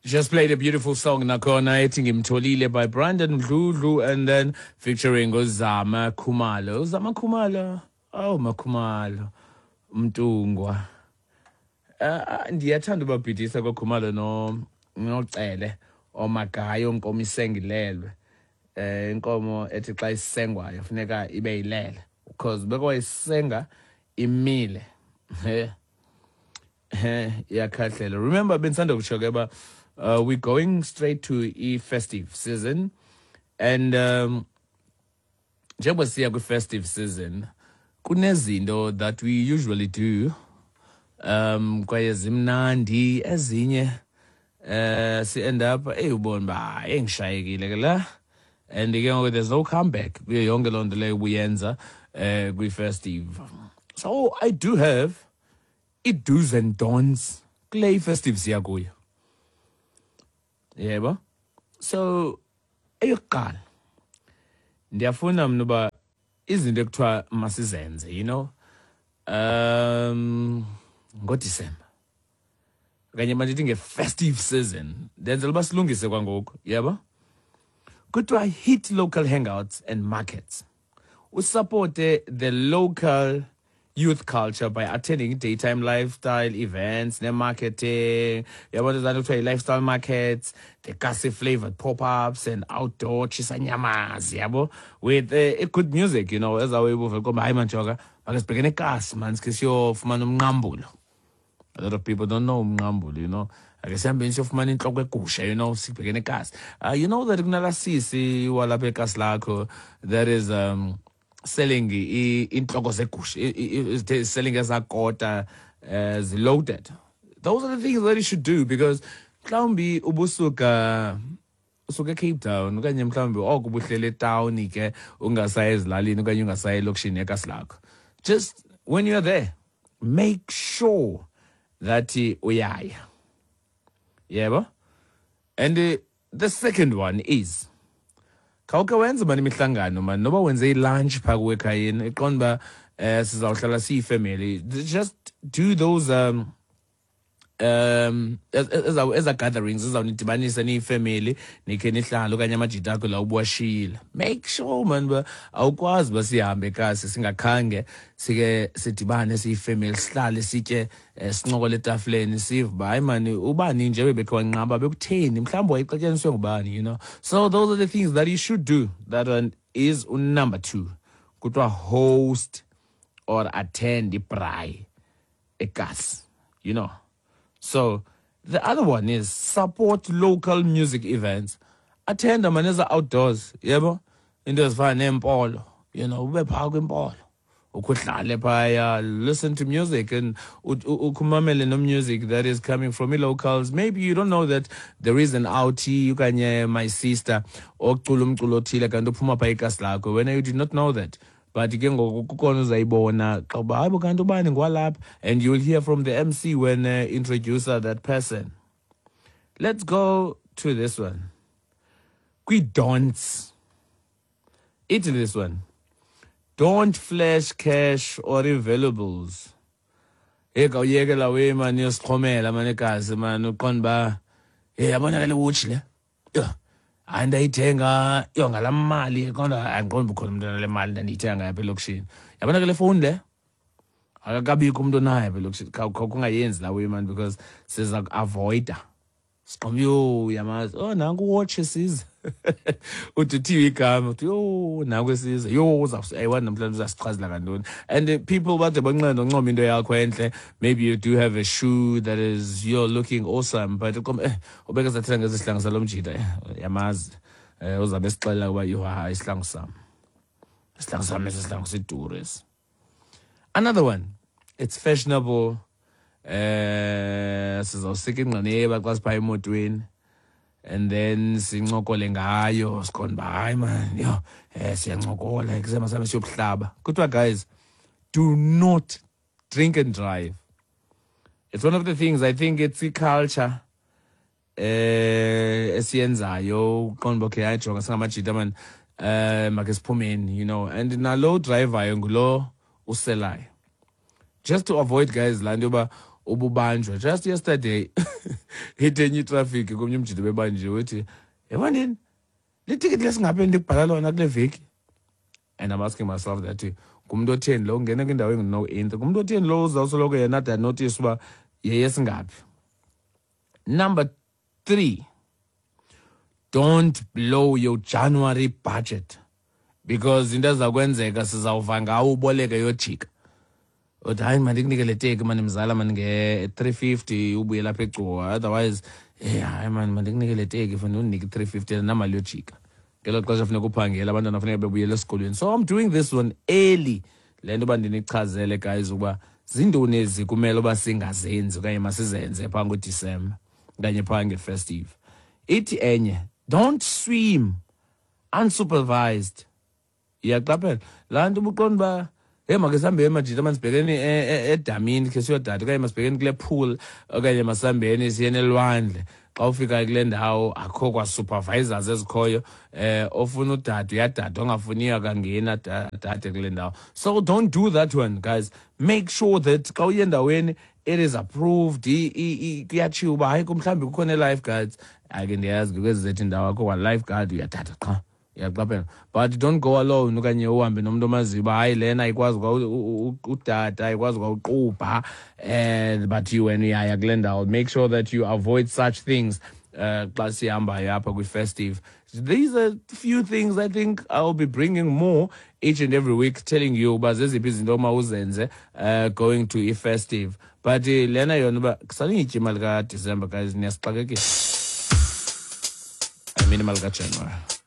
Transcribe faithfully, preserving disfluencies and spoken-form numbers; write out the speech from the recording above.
Just played a beautiful song nakhona ethi "Ngimtholile" by Brandon Dludlu and then featuring uZama Khumalo. Uzama Khumalo. Oh, Makhumalo. Mntungwa. Uh, ndiyathanda ubabhidisa koKhumalo no noCele omagayo nkomo isengilelwe. Eh inkomo ethi xa isengwayo funeka ibe yilele because bekwayisenga imile. Eh eh iyakhahlela. Remember, bendisanda kutsho ke ba uh, we're going straight to i-festive season and um njengoba siya kwi-festive season, kunezinto that we usually do um kwaye zimnandi ezinye, eh si end up, hey, ubona ba engishayekile ke la, and ke ngoku there's no comeback kuyo yonke loo nto leyo ubuyenza eh kwi-festive. So I do have i-do's and don'ts kule festive siya kuyo, yebo. So eyokuqala, ndiyafuna mna uba izinto ekuthiwa masizenze you know um ngoDisemba okanye mandithi nge-festive season, ndenzela uba silungise kwangoku, yebo. Kuthiwa hit local hangouts and markets, usupporte the local youth culture by attending daytime lifestyle events ne-marketing, yabona zanto kuthiwa yi-lifestyle markets, the kasi flavored pop-ups and outdoor tshisanyamas, yabo, with uh, good music you know ezawuyibuva komba, hayi manjoka, make sibhekene ekasi man, sikhe siyofumana umnqambulo. A lot of people don't know umnqambulo you know Ake sihambeni siyofumana inhloko egusha you know sibhekene ekasi. uh, you know that kunala sisi walapha ekasi lakho that is um selling i- inhloko zegusha, i- i- i- selling ezakota uh, loaded. Those are the things that you should do because mhlawumbi ubusuka usuka eCape Town okanye mhlawumbi oko ubuhlele etawuni ke, ungasayi ezilalini okanye ungasayi elokishini ekasi lakho. Just when you're there, make sure that uyaya, yebo. And uh, the second one is khawukhe wenze mani imihlangano mani, noba wenze ilunch phaa kuwe ekhayeni, iqonda uba um sizawuhlala siyifamily. Just do those um um eza eza gatherings ezawunidibanisa niyifamily, nikhe nihlale okanye amajita akho la ubuwashiyile. Make sure man uba awukwazi uba sihambe kasi singakhange sike sidibane siyifamily, sihlale sitye, eh, sincokole etafileni, sive uba hayi mani, ubani nje bebekhe wanqaba, bekutheni, mhlawumbi wayexatyaniswe ngubani you know So those are the things that you should do. That one is number two. Kuthiwa host or attend ibraai ekasi you know So the other one is support local music events. Attend maneza outdoors, yebo? Into ezifana nempolo, you know, ube phaa kwimpolo. Ukuhlale phaya, listen to music and ukumamele no music that is coming from locals. Maybe you don't know that there is an outie okanye my sister ocula umculo othile kanti uphuma phaa ekasi lakho. When you did not know that. But ke ngoku kukhona uzayibona xa uba hayibo, kanti ubani ngwalapha, and you will hear from the M C when uh, introducer that person. Let's go to this one. Kwi-don'ts, ithi this one: don't flash cash or valuables. Hey, kawuyekela we mani, yosixhomela mani egazi mani, uqonda uba hey, yabona ke le watch le, yho, hayi, ndayithenga yho ngalaa mali, kodwa andiqondi uba ukhona umntu onale mali ndandiyithenga ngapha elokishini. Yabona ke le fowuni le, akakabikho umntu onayo apha elokishini. Khawungayenzi laa way man, because siza kuavoida siqombe, yho, uyamazi, oh, nanku uwatch esiza, uthi uthiwe igama, uthi yho, nanku esiza, yho, ayiwani namhlanje uzasichazela kantoni. And uh, people bade banqena uncoma into yakho entle. Maybe you do have a shoe that is, you're looking awesome, but uqombe, eh ubeke sathetha ngezi sihlangu salo mjita, eh yamazi, eh uzabe esixelela ukuba yho, hayi, isihlangu sam, isihlangu sam esi sihlangu siduru esi. Another one, it's fashionable, eh sizawusika ingqineba xa siphaa emotweni and then sincokole ngayo, sikhona uba hayi man, yho, eh siyancokola kusema sami siyobuhlaba. Kuthiwa guys, do not drink and drive. It's one of the things, I think it's i-culture eh esiyenzayo, uqonda uba okay, hayi, jonga, singamajita man, eh make siphumeni you know and nalo drivayo ngulo uselayo, just to avoid guys laa nto yoba ububanjwa. Just yesterday Ithi enye itrafiki komnye umjito bebanjiwe, uthi, "Yabonini, le tikiti lesingaphi endikubhala lona kule veki?" And I'm asking myself that, ngumntu otheni lo ungena kwindawo engu-no entry? Ngumntu otheni lo uzawusoloko yena ade anotice uba yeyesingaphi? Number three, don't blow your January budget, because into ezakwenzeka, sizawuva ngawo uboleke yojika, uthi, "Hayi, mandikunike le teki mani mzala mani nge-three fifty, ubuye lapha eGcuwa. Otherwise, eh hayi mani, mandikunike le teki, fanele undinike i-three fifty namali yojika." Ngelo xesha funeka uphangele, abantwana funeka bebuyele esikolweni. So I'm doing this one early, le nto uba ndinichazele, guys, ukuba zintoni ezi kumele uba singazenzi okanye masizenze phaa ngoDisemba okanye phaa ngefestive. Ithi enye, don't swim unsupervised. Iyaqaphela laa nto ubuqonda uba, "Hey, make sihambe emajita mani, sibhekeni e- e- edamini khe siyodada, okanye masibhekeni kule pool, okanye masihambeni siyeni elwandle." Xa ufika kule ndawo, akho kwa-supervisors ezikhoyo. eh ofuna udada uyadada, ongafuniyo akangeni adade kule ndawo. So don't do that one, guys. Make sure that xa uye endaweni, it is approved. i- i- i- kuyatshiwo uba hayi, mhlawumbi kukho nee-lifeguards. Ake ndiyazi kwezi zethu indawo akho kwa-lifeguard, uyadada qha, uyaqaphela. But don't go alone okanye uhambe nomntu omaziyo uba hayi, lena ayikwazi kwa u- u- udada, ayikwazi kwa uqubha, and but you wena uyaya kule ndawo. Make sure that you avoid such things uh xa sihambayo apha kwi-festive. These are few things. I think I'll be bringing more each and every week, telling you uba zeziphi izinto omawuzenze uh going to i-festive. But uh, lena yona uba kusaniyitya imali kaDisemba, guys, niyasixakekisa. I mean, imali kaJanuary.